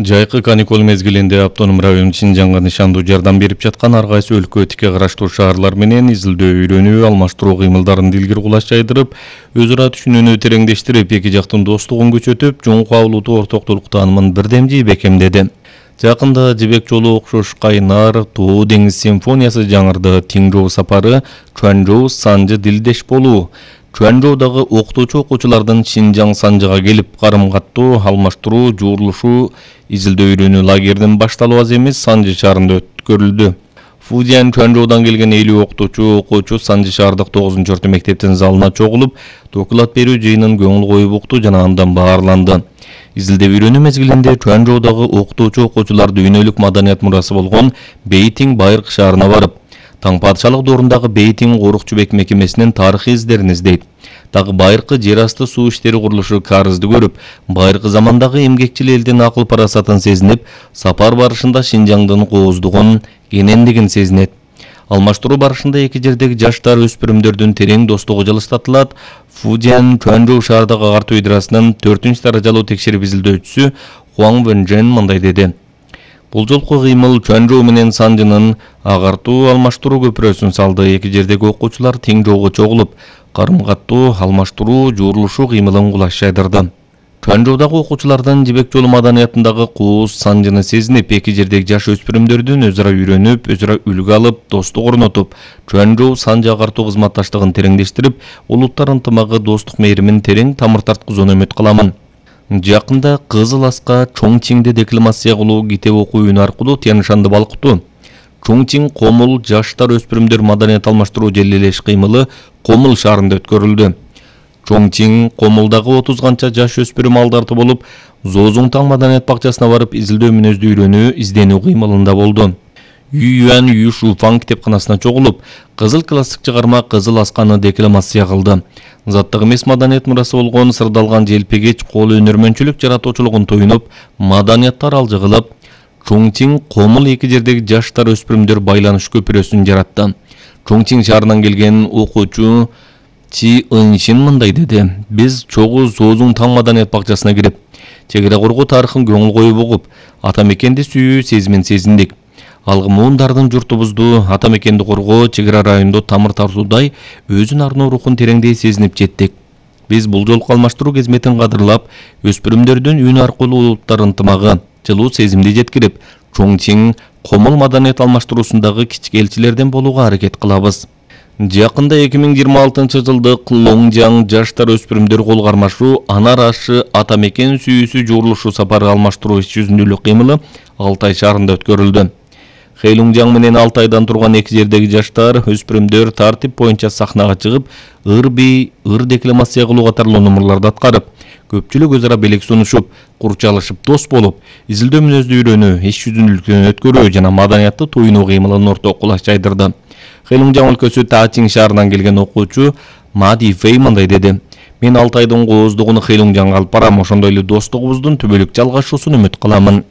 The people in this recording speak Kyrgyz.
Жайкы каникул мезгилинде автоном район Шинжанга нышандуу жардам берип жаткан ар кайсы өлкө тике караштуу шаарлар менен изилдөө үйрөнүү, алмаштыруу кыймылдарын дилгир кулаш жайдырып, өз ара түшүнүүнү тереңдештирип, эки жактын достугун күчөтүп, жоңку абулуту ортоктулук таанымын бирдемжи бекемдеди. Жакында Жибек жолу окшош Кайнар, Тоо деңиз симфониясы жаңырды. Тиңжоо сапары, Чуанжоу санжы дилдеш болуу. Чуанжоодагы окутуучу-окуучулардын Шинжаң санжыга келип карым-каттоо, алмаштыруу, жуурулушуу, изилдөө үйрөнүү лагеринин башталуу аз эмес Санжы шаарында өткөрүлдү. Фудзиян Чуанжоудан келген 50 окуучу Санжы шаардык 9-орто мектептин залына чогулуп, доклад берүү жыйынын көңүл коюп укту жана андан баарланды. Изилдөө үйрөнүү мезгилинде Чуанжоодагы окутуучу-окуучулар дүйнөлүк маданият мурасы болгон Бейтиң байыркы шаарына барып, Таң падышалык доорундагы Бейтиң Орукчубек мекемесинин тарыхый издерин издейт. Дагы байыркы жер асты суу иштери курулушу карызды көрүп, байыркы замандагы эмгекчил элдин акыл парасатын сезинип, сапар барышында Шинжаңдын кооздугун, кенендигин сезинет. Алмаштыруу барышында эки жердеги жаштар өспүрүмдөрдүн терең достугу жылыштатылат. Фудзиян Чуанжоу шаардык агартуу идарасынын 4-даражалуу текшерип изилдөөчүсү Хуаң Вэнжэн мындай деди. Бул жолку кыймыл Чуанжоу менен Санжынын агартуу алмаштыруу көпүрөсүн салды. Эки жердеги окуучулар тең жолго чогулуп, карым-каттоо, алмаштыруу, жуурулушуу кыймылын кулаш жайдырды. Чуанжоудагы окуучулардын Жибек жолу маданиятындагы кооз Санжыны сезинип, эки жердеги жаш өспүрүмдөрдүн өз ара үйрөнүп, өз ара үлгү алып, достук орнотуп, Чуанжоу Санжы агартуу кызматташтыгын тереңдештирип, улуттар ынтымагы, достук мээримин терең тамыр тарткызууну үмүт кыламын. Жакында Кызыл Аска Чоңчиңде декламация кылуу, китеп окуу үнү аркылуу Тянь-Шанды балкытуу. Чоңчиң Комул жаштар өспүрүмдөр маданият алмаштыруу желилеш кыймылы Комул шаарында өткөрүлдү. Чоңчиң Комулдагы 30 канча жаш өспүрүм алдарты болуп, Зоозуңтаң маданият бакчасына барып изилдөө мүнөздүү үйрөнүү, изденүү кыймылында болду. Ююан Юшуфаң китепканасына чогулуп, кызыл классик чыгарма Кызыл Асканы декламация кылды. Заттык эмес маданият мурасы болгон сырдалган желпегеч кол өнөрмөнчүлүк жаратуучулугун тоюнуп, маданияттар алжы кылып, Чоңчиң Комул эки жердеги жаштар өспүрүмдөр байланыш көпүрөсүн жаратты. Чоңчиң шаарынан келген окуучу Чи Ыншин мындай деди. Биз чогуу Зоозуңтаң маданият бакчасына кирип, чегара коргоо тарыхын көңүл коюп угуп, ата мекенди сүйүү сезимин сезиндик. Алгымуундардын журтубузду, ата мекенди коргоо, чегара райондо тамыр тартуудай өзүн арноо рухун тереңдей сезинип жеттик. Биз бул жолку алмаштыруу кызметін кадырлап, өспүрүмдөрдүн үнү аркылуу улуттар ынтымагы, жылуу сезимди жеткирип, Чоңчиң Комул маданият алмаштыруусундагы кички элчилерден болууга аракет кылабыз. Жакында 2026-жылдык Лоңжаң жаштар өспүрүмдөр кол кармашуу Анар ашы ата мекен сүйүүсү жуурулушуу сапары алмаштыруу иш жүзүндүүлүк кыймылы Алтай шаарында өткөрүлдү. Хэйлуңжаң менен Алтайдан турган эки жердеги жаштар өспүрүмдөр тартип боюнча сахнага чыгып, ыр-бий, ыр декламация кылуу катарлуу номурларды аткарып, көпчүлүк өз ара белек сунушуп, курчалышып дос болуп, изилдөө мүнөздүү үйрөнүү, иш жүзүндүүлүктүн өткөрүү жана маданиятты туюнуу кыймылын ортого кулаш жайдырды. Хэйлуңжаң өлкөсү Таачиң шаарынан келген окуучу Мади Фэй мындай деди. Мен Алтайдын кооздугун Хэйлуңжаңга алып барам, ошондой эле достугубуздун түбөлүк жалгашуусун үмүт кыламын.